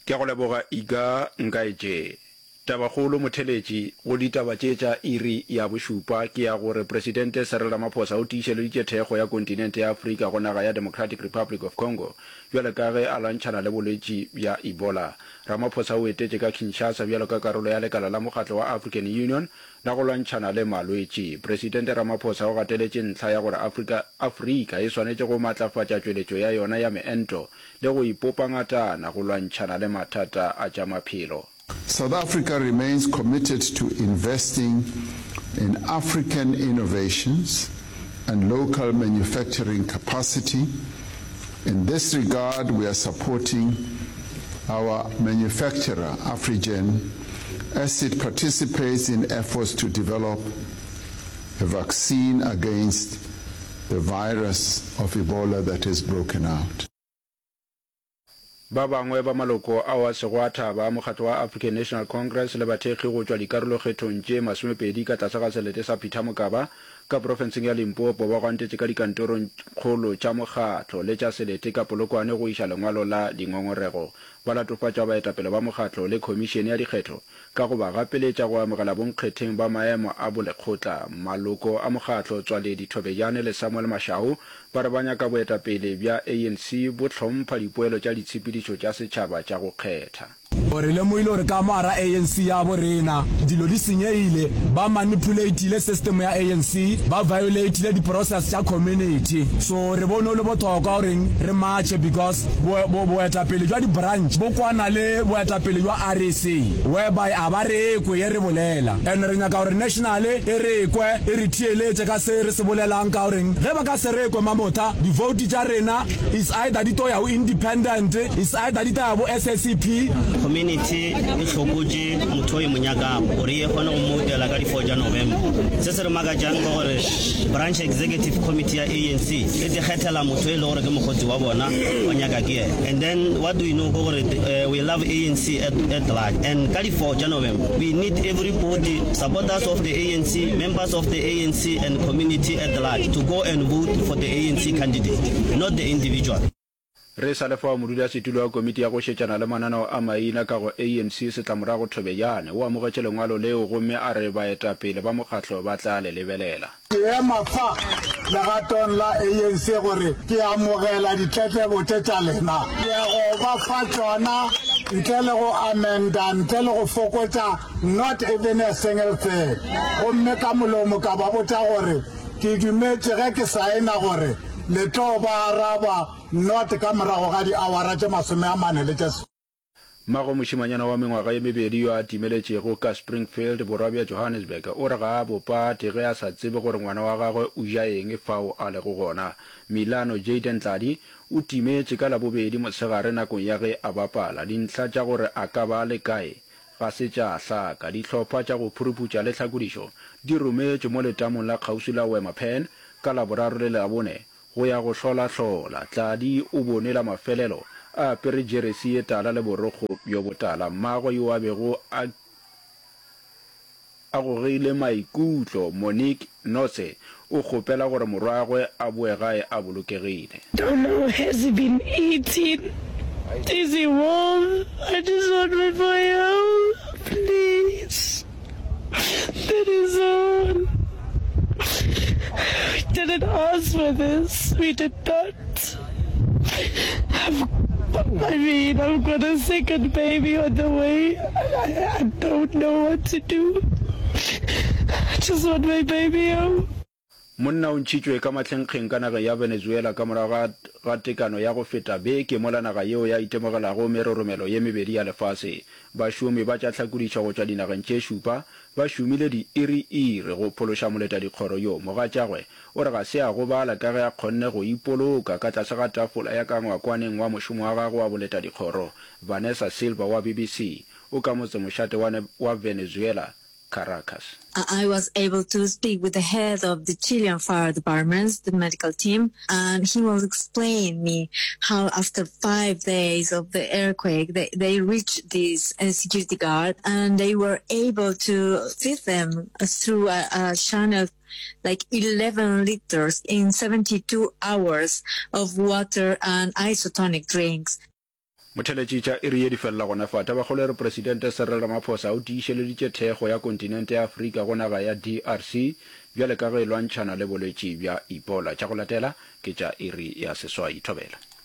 Ke a go leboga Iga Nkaetše. Tabakgolo motheletši go ditaba tše tša iri ya bošupa ke ya gore Presidente Cyril Ramaphosa o tiišeleditše thekgo ya kontinente ya Afrika go naga ya Democratic Republic of Congo bjalo ka ge a lwantšhana le bolwetši bja Ebola. Ramaphosa o etetše ka Kinshasa bjalo ka karolo ya lekala la mokgatlo wa African Union la go lwantšhana le malwetši. Presidente Ramaphosa o gateletše ntlha ya gore Afrika Afrika e swanetše go matlafatša tšweletšo ya yona ya meento le go ipopa ngatana go lwantšhana le mathata a tša maphelo. South Africa remains committed to investing in African innovations and local manufacturing capacity. In this regard, we are supporting our manufacturer, Afrigen, as it participates in efforts to develop a vaccine against the virus of Ebola that has broken out. Ba bangwe ba maloko ao a sego a thaba a mokgatlo wa African National Congress le bathekgi go tšwa dikarolokgethong tše masomepedi ka tlase ga selete sa Peter Mokaba ka profenseng ya Limpopo ba gwantetše ka dikantorong kgolo tša mokgatlo le tša selete ka Polokwane go iša lengwalo la dingongorego. Ba latofatša baetapele ba mokgatlo le khomišene ya dikgetho ka go ba gapeletša go amogela bonkgetheng ba maemo a bolekgotla. Maloko a mokgatlo Tswaledi Thobejane le Samuel Mashau ba re ba nyaka boetapele bja ANC bo hlompha dipoelo tša ditshepedišo tša setšhaba tša go kgetha. Re lemogile gore ka mo gara ANC ya bo rena dilo di senyegile, ba manipulatile system ya ANC, ba violatile di process tša community. So re bone o le bothokwa goreng re marche because bo, bo, boetapele jwa di branch bo kwana le boetapele jwa REC whereby a ba re kwe ye re bolela and re nyaka gore national e re kwe e re theeletše ka se re se bolelang ka goreng ge ba ka se re kwe mamotha di vote tša rena is either di to ya go independent is either di tla ya bo SACP. Community e hlokotše motho o e mo nyakago gore e kgone go mmoutela ka di 4 tša November. Se se re makatšang ke gore branch executive committee ya ANC e tikgethela motho e le gore ke mokgotsi wa bona wa nyaka ke yena. And then what do we know ke gore uh, we love ANC at, at large and ka di 4 tša November we need everybody supporters of the ANC, members of the ANC and community at large to go and vote for the ANC candidate, not the individual. Re sa le fao, modulasetulo wa komiti ya go šetšana le mananeo a maina ka go ANC Setlamorago Thobejane o amogetše lengwalo leo gomme a re baetapele ba mokgatlo ba tla le lebelela. Ke ema fa legatong la ANC gore ke amogela ditletlebo tše tša lena. Ke ya go ba fa tšona ntle le go amenda, ntle le go fokotša not even a single thing. Gomme ka molomo ka ba botša gore ke dumetše ge ke saena gore le tlo ba araba Not ka morago ga diawara tše masomeamane le tše. Mmago mošemanyana wa mengwaga ye mebedi yo a timeletšego ka Springfield, borwa bja Johannesburg, o re ga a bo pate ge a sa tsebe gore ngwana wa gagwe o ja eng fao a lego gona. Milano Jayden Tladi o timetše ka Labobedi mosegare nakong ya ge a bapala. Dintlha tša gore a ka ba a le kae ga se tša hlaka. Dihlopha tša go phuruputša le tlhakodišo di rometšwe mo letamong la kgauswi la Wema Pan ka Laboraro le Labone Go ya go hlolahlola, Tladi o bone la mafelelo a apere jeresi ye tala le borokgo bjo botala. Mmagwe yo a bego a a gogile maikutlo, Monique Notse, o kgopela gore morwagwe a boe gae a bolokegile. Don't know has he been eating is he warm I just want my boy home please that is all we didn't ask for this we did not I've, I mean I've got a second baby on the way I, I don't know what to do I just want my baby home. Monna o ntšhitšwe ka mahlenkgeng ka nageng ya Venezuela ka morago ga ga tekano ya go feta beke mola naga yeo ya itemogelago meroromelo ye mebedi ya lefase. Bašomi ba tša tlhakodišo go tšwa dinageng tše šupa ba šomile diiri-iri go phološa moletadikgoro yo. Mogatšagwe o re ga se a gobala ka ge a kgonne go ipoloka ka tlase ga tafola ya ka ngwakwaneng wa mošomo wa gagwe wa boletadikgoro. Vanessa Silva wa BBC o ka motsemošate wa wa Venezuela Caracas. I was able to speak with the head of the Chilean fire department, the medical team, and he was explaining me how after 5 days of the earthquake, they, they reached this uh, security guard and they were able to feed them through a, a channel like 11 liters in 72 hours of water and isotonic drinks. Motheletši tša iri ye di felela gona fa. Tabakgolo e re Presidente Cyril Ramaphosa o tiišeleditše thekgo ya kontinente ya Afrika go naga ya DRC bjale ka ge e lwantšhana le bolwetši bja Ebola. Tša go latela ke tša iri ya seswai. Thobela.